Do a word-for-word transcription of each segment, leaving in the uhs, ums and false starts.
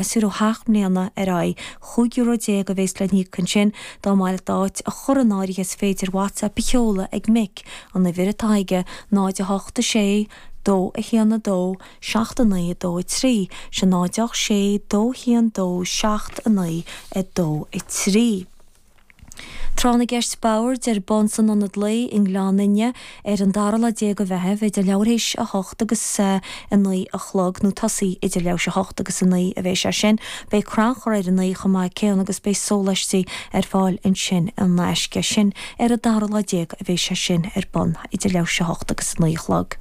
Gasúir ó sheacht mbliana ar aghaidh, chúig euro déag a bhéas le n-íoc ansin dá mba mhaith leat d'áit a chur in áirithe is féidir WhatsApp a sheoladh ag Mick, an uimhir atá aige, náid a hocht a sé, dó a haon a dó, seacht a naoi a dó a trí, sin náid a hocht sé, dó a haon dó, seacht a naoi a dó a trí. Tráth na gCeist Boird ar bun san Ionad Lae i nGleann Fhinne ar an dara lá déag de Mheitheamh idir leathuair théis a hocht agus a naoi a chlog, nó tosaí idir leathuair théis a hocht agus a naoi a bheidh sé sin. Beidh crannchur ar a naoi chomh maith céanna agus beidh sóláistí ar fáil ansin in aisce. Sin ar an dara lá déag a bheidh sé sin ar bun idir leathuair théis a hocht agus a naoi a chlog.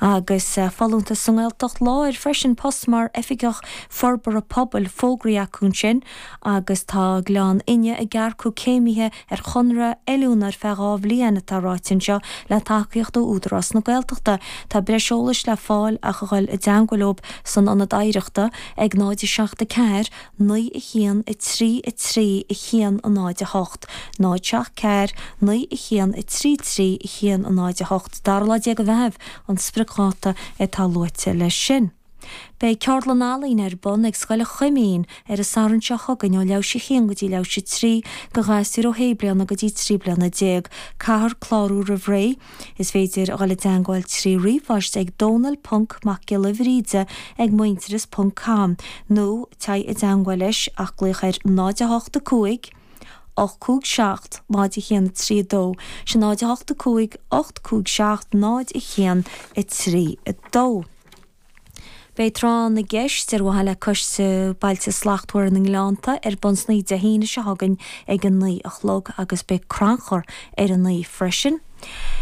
Agus folúntas sa nGaeltacht Láir freisin, post mar Oifigeach Forbartha Pobail fógraithe acu ansin agus tá Gleann Fhinne ag earcú céimithe ar chonradh oiliúna ar feadh dhá bhliain, atá ráite anseo, le tacaíocht ó Údarás na Gaeltachta. Tá breis eolais le fáil ach a dhul i dteangmháil leo san Ionad Oidhreachta ag náid a seacht a ceathair, naoi a haon, a trí a trí, a haon a náid a hocht, náid seacht ceathair, naoi a haon, a trí trí, a haon a náid a hocht. Dara lá déag de Mheitheamh an spriocdháta atá luaite leis sin. Beidh ceardlann ealaíne ar bun ag Scoil an Choimín ar an Satharn seo chugainn ó leathuair théis a haon go dtí leathuair théis a trí do ghasúir ó shé bliana go dtí trí bliana déag. Caithfear clárú roimh ré. Is féidir a dhul i dteangmháil trí ríomhphost ag Dónal ponc Mac Giolla Bhríde ag Muintearas ponc com nó téigh i dteangmháil leis ach glaoch ar náid a hocht a cúig, ocht cúig seacht, náid a haon a trí a dó, sin náid a hocht a cúig, ocht cúig seacht, náid a haon a trí a dó. Beidh Tráth na gCeist ar mhaithe le Coiste Bailte Slachtmhara na nGleannta ar bun san oíche Dé hAoine seo chugainn ag a naoi a chlog agus beidh crannchur ar a naoi freisin.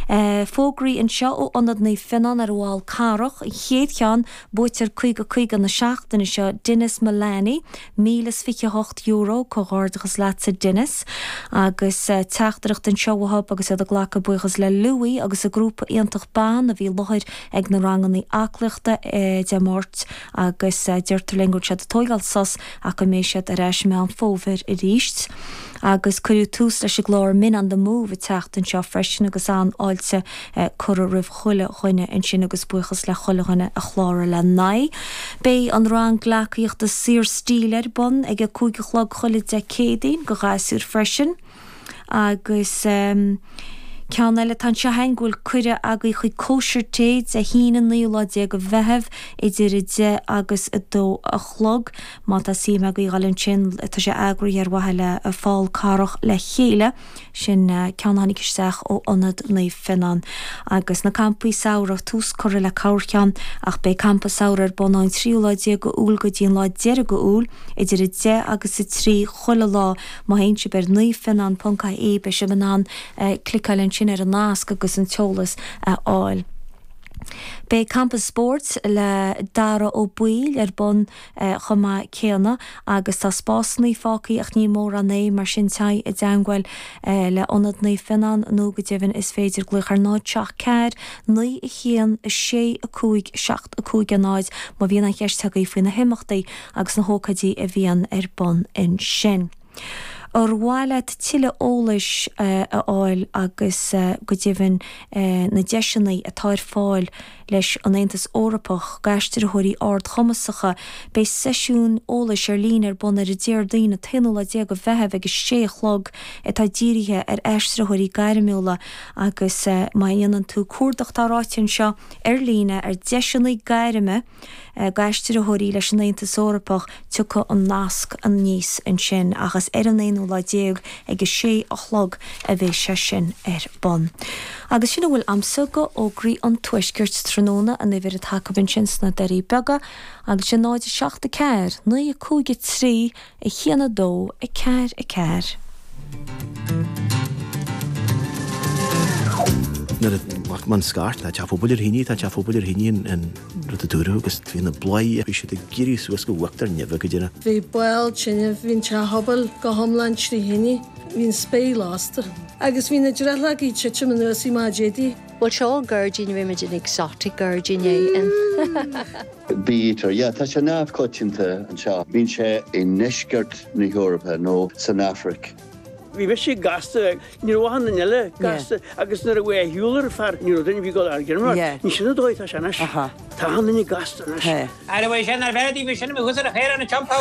Fógraí anseo ó Ionad Naomh Fionnán ar an bhFál Carrach, an chéad cheann, buaiteoir caoga caoga na seachtaine seo, Denis Mullaney, míle is fiche a hocht euro, comhghairdeachas leatsa Denis. Agus teachtaireacht anseo uathu agus iad ag glacadh buíochas le Louis agus a grúpa iontach ban a bhí i láthair ag na ranganna aclaíochta Dé Máirt agus deirtear linn go bhfuil siad ag tóigeáil sos ach go mbeidh siad ar ais i Meán Fómhair arís. Agus cuireadh tús leis an gclár Men on the Move an tseachtain seo freisin agus an-fháilte curtha roimh chuile dhuine ansin agus buíochas le chuile dhuine a chláraigh lena n-aghaidh. Beidh an rang gleacaíochta Saorstíl ar bun ag a cúig a chlog chuile Dé Céadaoin do ghasúir freisin agus ceann eile atá anseo againn go bhfuil cuireadh agaibh chuig cóisir tae Dé hAoine an naoú lá déag de Mheitheamh idir a deich agus a dó a chlog. Má tá suim agaibh a dhul ansin tá sé eagraithe ar mhaithe le Fál Carrach le chéile. Sin ceann a tháinig isteach ó Ionad Naomh Fionnán. Agus na campaí samhraidh, tús curtha le corrcheann ach beidh campa samhraidh ar bun ón tríú lá déag de Iúil go dtí an lá deiridh de Iúil, idir a deich agus a trí chuile lá. Má théann sibh ar naomhfionnán ponc ie beidh sibh in ann cliceáil ansin ar an nasc agus an t-eolas a fháil. Beidh campa spóirt le Dara Ó Baoill ar bun chomh maith céanna agus tá spásanna fágtha ach ní mórán é, mar sin téigh i dteangmháil le Ionad Naomh Fionnán nó go deimhin is féidir glaoch ar náid seacht ceathair naoi a haon a sé a cúig seacht a cúig a náid má bhíonn aon cheist agaibh faoi na himeachtaí agus na hócáidí a bhíonn ar bun ansin. Ar mhaith leat tuilleadh eolais a fháil agus go deimhin na deiseanna atá ar fáil leis an Aontas Eorpach d'aistritheoirí ardchumasacha? Beidh seisiún eolais ar líne ar bun ar an Déardaoin an t-aonú lá déag de Mheitheamh ag a sé a chlog atá dírithe ar aistritheoirí gairmiúla agus má dhéanann tú cuardach tá ráite anseo ar líne ar deiseanna gairme d'aistritheoirí leis an Aontas Eorpach tiocfaidh an nasc aníos ansin ach is ar an aonú lá déag ag a sé a chlog a bheidh sé sin ar bun. Agus sin a bhfuil a'msa go fhógraí an Tuaiscirt tráthnóna, an uimhir atá acu ansin sna Doirí Beaga agus sin náid a seacht a ceathair, naoi a cúig a trí, a haon a dó, a ceathair a ceathair. Nuair a ghlac mé an scairt, tá teach pobail ar thine, tá teach pobail ar thine an rud a dúradh agus bhí na bladhairí, bhí siad ag éirí suas go huachtar neimhe go deireadh. Bhí baol tine, bhí an teach pobail go hiomlán trí thine, bhí an spéir lasta agus bhí na drithleogaí ag titim anuas i maid éadaí. Bhuel seo gairdín, bhí muid in exotic gairdín é in. Bee-eater, yeah, tá sé neamhchoitianta anseo. Bíonn sé i ndeisceart na hEorpa nó san Afraic. Bhí mise gasta ní raibh aon duine eile gasta agus nuair a bhí a shiúl ar fear ní raibh duine bhí go ar gin Ní sin dóigh tá sé anois. Tá an duine gasta anois. Ara sin ar bheith bhí sin thuas ar a chéir an champa